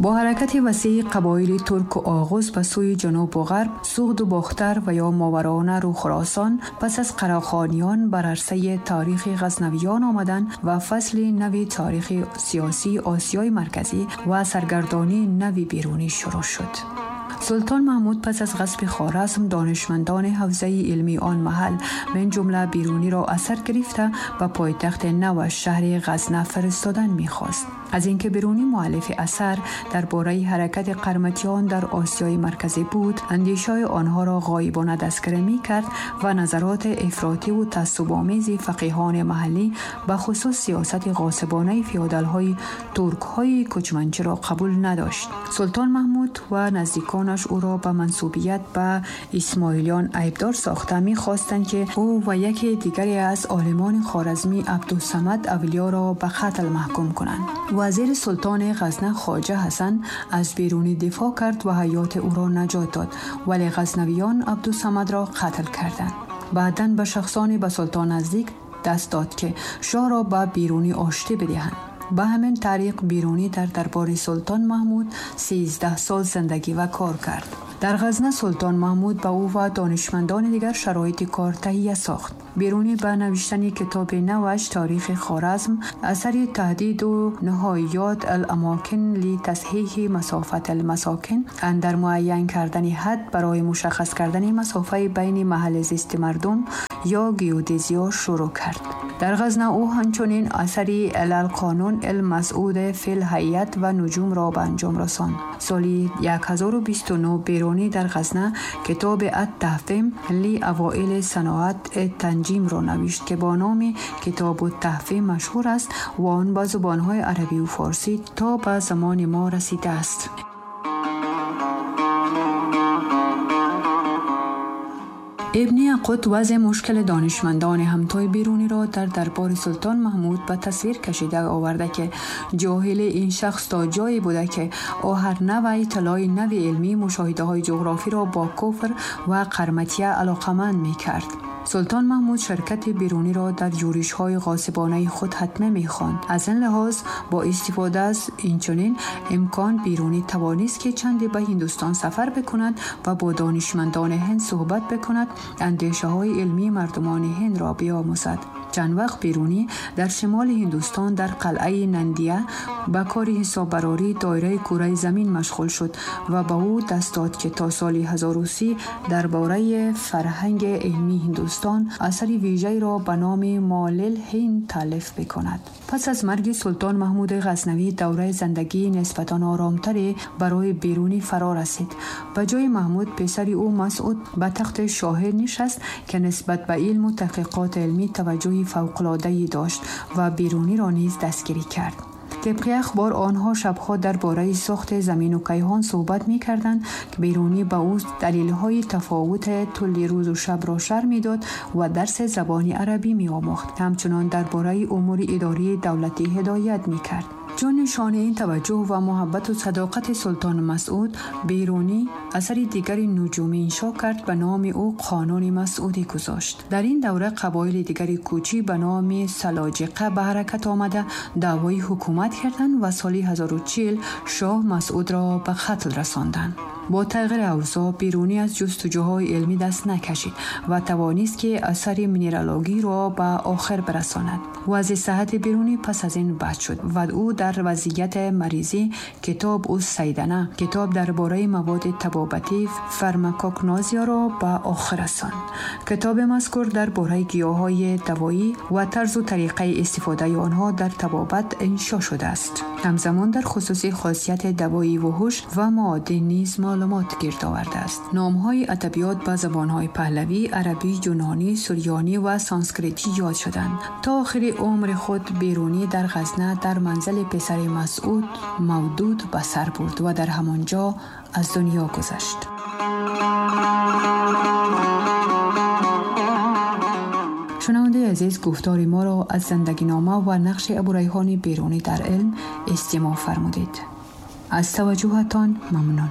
Бо ҳаракати васеи қабоили турку оғуз ба сӯи ҷанубу ғарб, Суғду Бохтар ва ё Мовароунару Хуросон, пас аз Қарахониён бар арсаи таърихи ғазнавиён омадан ва фасли нави таърихи сиёсии Осиёи Марказӣ ва саргардонии нави Берунӣ шурӯъ шуд. Султон Маҳмуд пас аз ғасби Хоразм донишмандони ҳавзаи илмии он маҳал, мин ҷумла Беруниро асар гирифта ба пойтахти наваш шаҳри Ғазна фиристодан мехост. Аз инки Берунӣ муаллифи асар дар бораи ҳаракати қарматиён дар Осиёи Марказӣ буд, андешаи онҳоро ғоибона дастгирӣ мекард ва назароти ифротиву таассубомези фақиҳони маҳаллӣ, ба хусус сиёсати ғосибонаи феодалҳои туркҳои кӯчманчиро қабул надошт. Султон Маҳмуд ва наздиконаш ӯро ба мансубият ба исмоилиён айбдор сохта мехостанд, ки ӯ ва яке дигаре аз олимони хоразмӣ Абдусамад Авлиёро ба қатл маҳкум кунанд. Вазири султони Ғазна Хоҷа Ҳасан аз Берунӣ дифоъ кард ва ҳаёти ӯро наҷот дод, вале ғазнавиён Абдусамадро қатл карданд. Баъдан ба шахсоне ба султон наздик даст дод, ки шоҳро ба Берунӣ оштӣ бидиҳанд. Ба ҳамин тариқ Берунӣ дар дарбори султон Маҳмуд 13 сол зиндагӣ ва кор кард. Дар Ғазна султон Маҳмуд ба ӯ ва донишмандони дигар шароити кор таҳия сохт. Берунӣ ба навиштани китоби наваш Таърихи Хоразм, асари Таҳдиду ниҳоят ал-амокин ли тасҳиҳи масофат алмасокин андар муайян кардани ҳад барои мушаххас кардани масофаи байни маҳалли зисти мардум ё геодезиё шурӯъ кард. Дар Ғазна ӯ ҳамчунин асари Алалқонун алмасъуд фил ҳайат ва нуҷумро ба анҷом расонд. Соли 1029 Берунӣ дар Ғазна китоби ат-Таҳвим ли авоили саноат танҷимро навишт, ки бо номи Китобу Таҳвим машҳур аст ва он ба зубонҳои арабию форсӣ то ба замони мо расидааст. Ибни Яқут вазъи мушкили донишмандони ҳамтои Беруниро дар дарбори султон Маҳмуд ба тасвир кашида оварда, ки ҷоҳили ин шахс то ҷое буда, ки ӯ ҳар навъи иттилои нави илмӣ мушоҳидаҳои ҷуғрофиро бо куфр ва қарматия алоқаманд мекард. Султон Маҳмуд ширкати Беруниро дар юришҳои ғосибонаи худ ҳатмӣ мехонд. Аз ин лиҳоз бо истифода аз инчунин имкон Берунӣ тавонист, ки чанде ба Ҳиндустон сафар бикунад ва бо донишмандони ҳинд суҳбат бикунад, андешаҳои илмии мардумони ҳиндро биомӯзад. Чанд вақт Берунӣ дар шимоли Ҳиндустон дар қалъаи Нандия ба кори ҳисоббарории доираи кураи замин машғул шуд ва ба ӯ даст дод, ки то соли 1030 дар бораи фарҳанги илмии Ҳиндустон асари вижаеро ба номи Молил Ҳинд таълиф бикунад. Пас аз марги султон Маҳмуди Ғазнавӣ давраи зиндагии нисбатан оромтаре барои Берунӣ фаро расид. Ба ҷои Маҳмуд писари ӯ Масъуд ба тахти шоҳӣ нишаст, ки нисбат ба илму таҳқиқоти илмӣ таваҷҷӯҳи фавқулоддае дошт ва Беруниро низ дастгирӣ кард. Тибқи ахбор онҳо шабҳо дар бораи сохти замину кайҳон суҳбат мекарданд, ки Берунӣ ба ӯ далелҳои тафовути тӯли рӯзу шабро шарҳ медод ва дарси забони арабӣ меомӯхт. Ҳамчунон дар бораи умури идории давлатӣ ҳидоят мекард. Чун нишонаи ин таваҷҷӯҳ ва муҳаббату садоқати султон Масъуд, Берунӣ асари дигари нуҷумӣ иншо кард, ба номи ӯ Қонуни Масъудӣ гузошт. Дар ин давра қабоили дигари кӯчӣ ба номи Салоҷиқа ба ҳаракат омада даъвои ҳукумат карданд ва соли 1040 шоҳ Масъудро ба қатл расонданд. Бо тағйири авзоъ Берунӣ аз ҷустуҷӯҳои илмӣ даст накашид ва тавонист, ки асари минералогиро ба охир бирасонад. Вазъи саҳҳати Берунӣ пас аз ин бад шуд ва ӯ дар вазъияти маризӣ китоб ус сайдана, китоб дар бораи маводи табобатӣ фармакогнозияро ба охир расонд. Китоби мазкур дар бораи гиёҳҳои давоӣ ва тарзу тариқаи истифодаи онҳо дар табобат иншо шудааст. Ҳамзамон дар хусуси хосияти давоии вуҳуш ва маодин низ маълумот гирд овардааст. Номҳои адабиёт ба забонҳои паҳлавӣ, арабӣ, юнонӣ, сурёнӣ ва санскритӣ ёд шуданд. То охири умри худ Берунӣ дар Ғазна дар манзили писари Масъуд Мавдуд ба сар бурд ва дар ҳамон ҷо аз дунё гузашт. Шунавандаи азиз, гуфтори моро аз зиндагинома ва нақши Абурайҳони Берунӣ дар илм истимоъ фармудед. Аз таваҷҷӯҳатон мамнун.